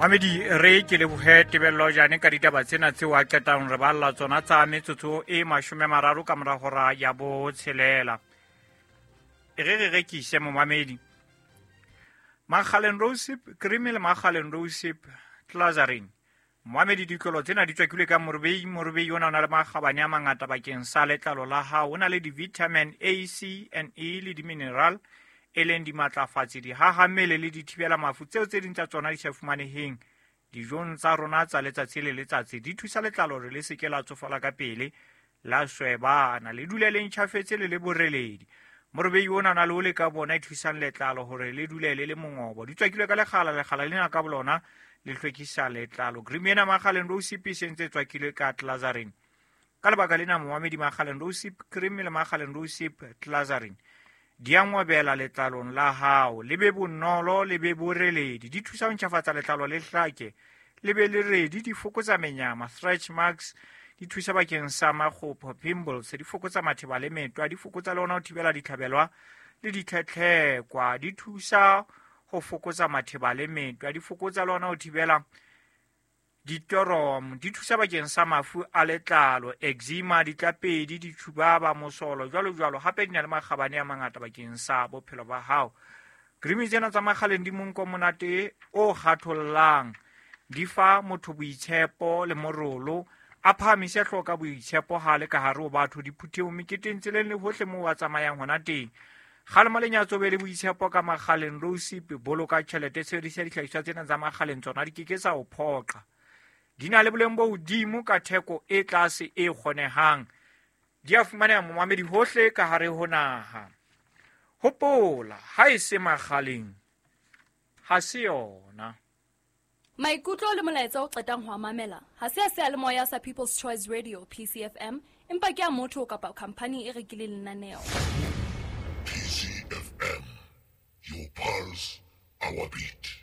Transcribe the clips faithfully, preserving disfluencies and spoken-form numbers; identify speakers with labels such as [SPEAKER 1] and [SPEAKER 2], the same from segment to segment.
[SPEAKER 1] Mamedi re ke lebohe Tebello Jane ka ditaba tsena tseo a qetang re balla tsona tsa metsotso e mashome mararo ka mora hora ya botshelela. E re re rekise momamedi. Makgaleng Rosip cream le Makgaleng Rosip Glazarin. Momamedi ditlolo tsena di tswakilwe ka morobei, morobei ona o na le makgabane a mangata bakeng sa letlalo la hao. O na le di-vitamin A, C and E le di-mineral e leng dimatlafatsi, dihahammele le dithibela mafu tseo tse ding tsa tsona di sa fumaneheng dijong tsa rona tsa letsatsi le letsatsi. Di thusa letlalo hore le se ke la tsofala ka pele, la swebana, le dule le ntjhafetse le le boreledi. Morobei ona o na le ole ka bona e thusang letlalo hore le dule le le mongobo. Di tswakilwe ka lekgala, lekgala lena ka bolona le hlwekisa letlalo. Cream ena Makgaleng Rosip e sentse e tswakilwe ka Glazarin. Ka lebaka lena momamedi, Makgaleng Rosip cream le Makgaleng Rosip Glazarin di a ngobela letlalong la hao, le be bonolo, le be boreledi. Di thusa ho ntjhafatsa letlalo le hlake, le be le redi, di fokotsa menyama, stretch marks, di thusa bakeng sa makgopho, pimples, di fokotsa matheba le metwa, di fokotsa le ona ho thibela ditlhabelwa le ditlhetlhekwa, di thusa ho fokotsa matheba le metwa, di fokotsa le ona ho thibela ditoromo, di thusa bakeng sa mafu a letlalo, eczema, ditlapedi, ditjhubaba, mosolo, jwalo jwalo. Hape di na le makgabane a mangata bakeng sa bophelo ba hao. Cream tsena tsa Makgaleng di monko monate o kgathollang, di fa motho boitshepo le morolo, a phahamise hlooho ka boitshepo ha le ka hare ho batho, diphuthehong, meketeng, tseleng le hohle moo a tsamayang hona teng. Kgalema lenyatso be le boitshepo ka Makgaleng Rosip, boloka tjhelete, sebedisa dihlahiswa tsena tsa Makgaleng, tsona di ke ke tsa o phoqa. Di na le boleng bo hodimo ka theko e tlase e kgonehang. Di a fumaneha momamedi hohle ka hare ho naha. Hopola, ha e se Makgaleng, ha se yona.
[SPEAKER 2] Maikutlo le molaetsa o qetang ho a mamela ha se a seyalemoya sa People's Choice Radio P C F M, empa ke a motho kapa khampani e rekileng lenaneo.
[SPEAKER 3] P C F M, your pulse, our beat.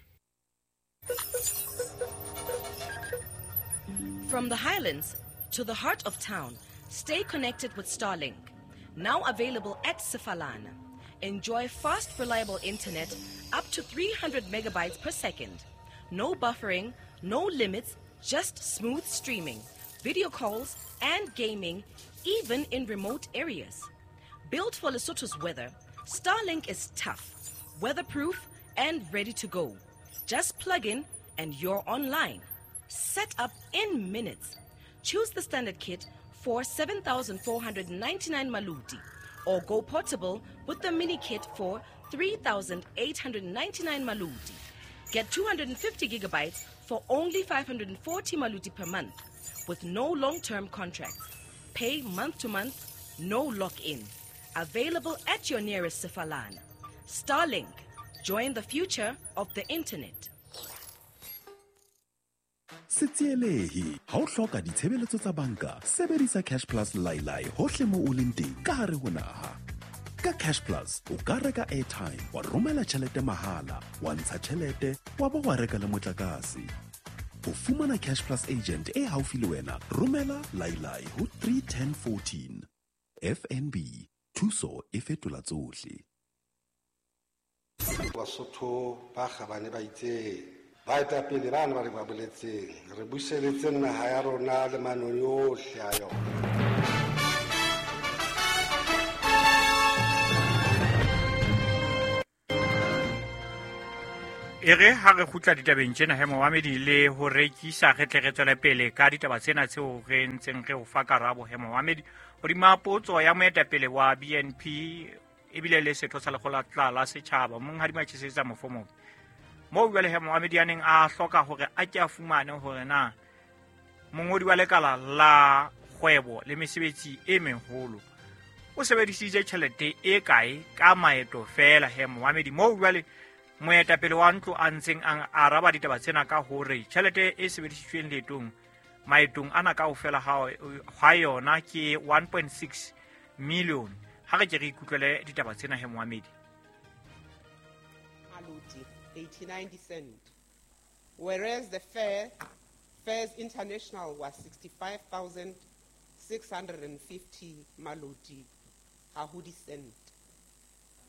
[SPEAKER 4] From the highlands to the heart of town, stay connected with Starlink. Now available at Sefalana. Enjoy fast, reliable internet up to three hundred megabytes per second. No buffering, no limits, just smooth streaming, video calls, and gaming, even in remote areas. Built for Lesotho's weather, Starlink is tough, weatherproof, and ready to go. Just plug in and you're online. Set up in minutes. Choose the standard kit for seven thousand four hundred ninety-nine maluti or go portable with the mini kit for three thousand eight hundred ninety-nine maluti. Get two hundred fifty gigabytes for only five hundred forty maluti per month with no long-term contracts. Pay month to month, no lock-in. Available at your nearest Sefalana. Starlink. Join the future of the internet.
[SPEAKER 5] Se tsielehe ha o hloka ditshebeletso tsa banka, sebedisa Cash Plus Lailai hohle moo o leng teng ka hare ho naha. Ka Cash Plus o ka reka airtime, wa romela tjhelete mahala, wa ntsha tjhelete, wa ba wa reka le motlakase. Ho fumana Cash Plus agent e haufi le wena, romela Lailai ho three ten fourteen. F N B, thuso e fetola tsohle.
[SPEAKER 6] Basotho ba kgabane ba itse baetapele bana ba re ba boletseng re buseletse naha ya rona le manoni ohle a yona.
[SPEAKER 1] E re ha re kgutla ditabeng tsena he momamedi le ho rekisa, re tle re tswele pele ka ditaba tsena tseo re ntseng re o fa karabo he momamedi. Hodima potso ya moetapele wa B N P ebile le setho sa lekgotla la setjhaba Monghadi Matšhisetsa Mofomobe, moo jwale he momamedi a neng a hloka hore a ke a fumane hore na mongodi wa lekala la kgwebo le mesebetsi e meholo o sebedisitse tjhelete e kae ka maeto feela he momamedi. Moo jwale moetapele wa ntlo a ntseng a araba ditaba tsena ka hore tjhelete e sebedisitsweng leetong maetong ana kaofela ha yona ke one point six million. Ha re ke re ikutlwele ditaba tsena he momamedi.
[SPEAKER 7] Maluti eighty-nine cent, whereas the fare Fares International was sixty-five thousand six hundred fifty maluti hahudi cent.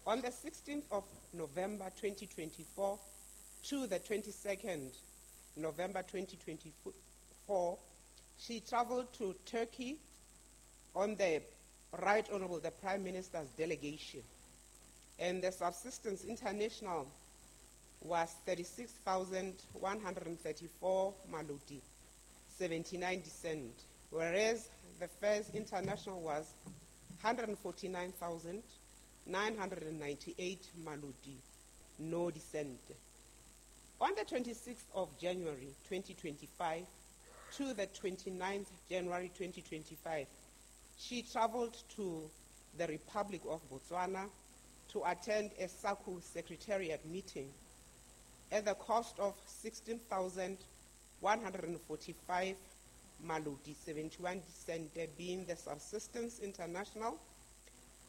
[SPEAKER 7] On the sixteenth of November twenty twenty-four to the twenty-second November twenty twenty-four, she traveled to Turkey on the Right Honorable the Prime Minister's delegation. And the Subsistence International was thirty-six thousand one hundred thirty-four maloti, seventy-nine cent, whereas the Fares International was one hundred forty-nine thousand nine hundred ninety-eight maloti, no dissent. On the twenty-sixth of January twenty twenty-five to the twenty-ninth January twenty twenty-five, she traveled to the Republic of Botswana to attend a SACU Secretariat meeting at the cost of sixteen thousand one hundred forty-five maloti, seventy-one cent, being the Subsistence International,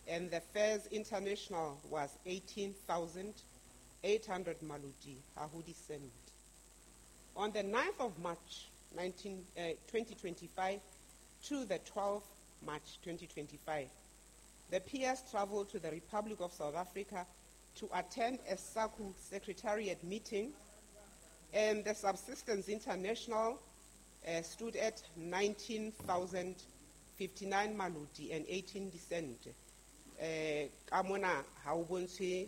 [SPEAKER 7] and the Fares International was eighteen thousand eight hundred maloti, ha ho cent. On the ninth of March nineteen, uh, twenty twenty-five to the twelfth March twenty twenty-five, the P S traveled to the Republic of South Africa to attend a SACU Secretariat meeting, and the Subsistence International uh, stood at nineteen thousand fifty-nine maloti and eighteen cent. Uh, ka mona ha o bontshe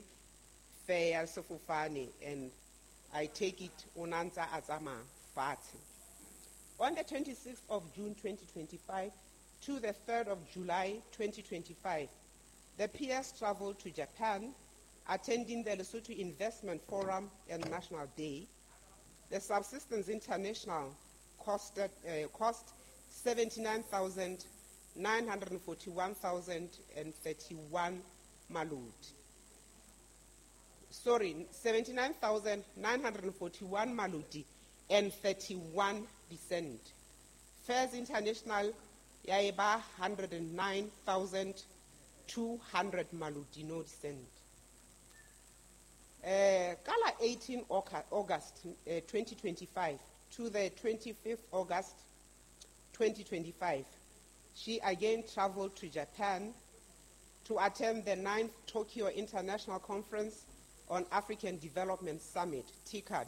[SPEAKER 7] fare ya sefofane, and I take it o na ntsa a tsamaya fatshe. On the twenty-sixth of June twenty twenty-five to the third of July twenty twenty-five, the P S traveled to Japan, attending the Lesotho Investment Forum and National Day. The Subsistence International costed, uh, cost seventy-nine thousand nine hundred forty-one thousand thirty-one maloti. Sorry, seventy-nine thousand nine hundred forty-one maloti and thirty-one cent. Fares International ya eba one hundred nine thousand two hundred maloti, no cent. Uh, ka la eighteen August uh, twenty twenty-five to the twenty-fifth August twenty twenty-five, she again traveled to Japan to attend the ninth Tokyo International Conference on African Development Summit, TICAD.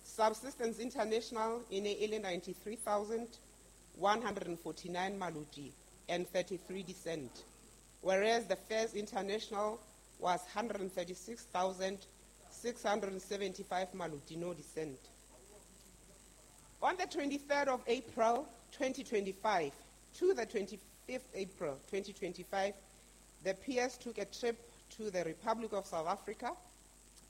[SPEAKER 7] Subsistence International in e le ninety-three thousand one hundred forty-nine maloti and thirty-three cent, whereas the Fares International was one hundred thirty-six thousand six hundred seventy-five maloti, no cent. On the twenty-third of April twenty twenty-five to the twenty-fifth April twenty twenty-five, the P S took a trip to the Republic of South Africa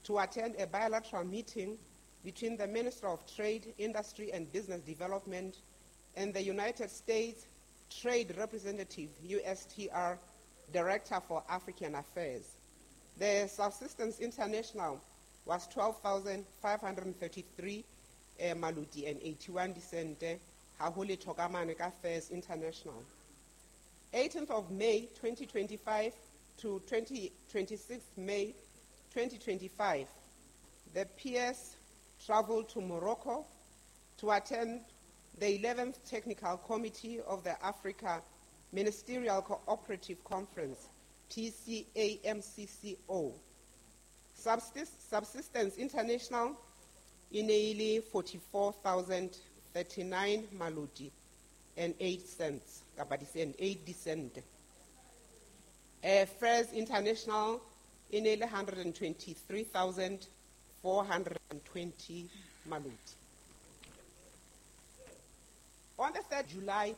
[SPEAKER 7] to attend a bilateral meeting between the Minister of Trade, Industry and Business Development and the United States Trade Representative, U S T R, Director for African Affairs. The Subsistence International was twelve thousand five hundred thirty-three eh, maloti and eighty-one cent, ha ho letho ka mane ka Fares International. eighteenth of May twenty twenty-five to twenty, twenty-sixth May twenty twenty-five, the P S traveled to Morocco to attend the eleventh Technical Committee of the Africa Ministerial Cooperative Conference, T C A M C C O. Subsist- Subsistence International e ne e le forty-four thousand thirty-nine maloti and eight cents, kapa di-cent, eight cent. Uh, Fares International e ne e le one hundred twenty-three thousand four hundred twenty maloti. On the third July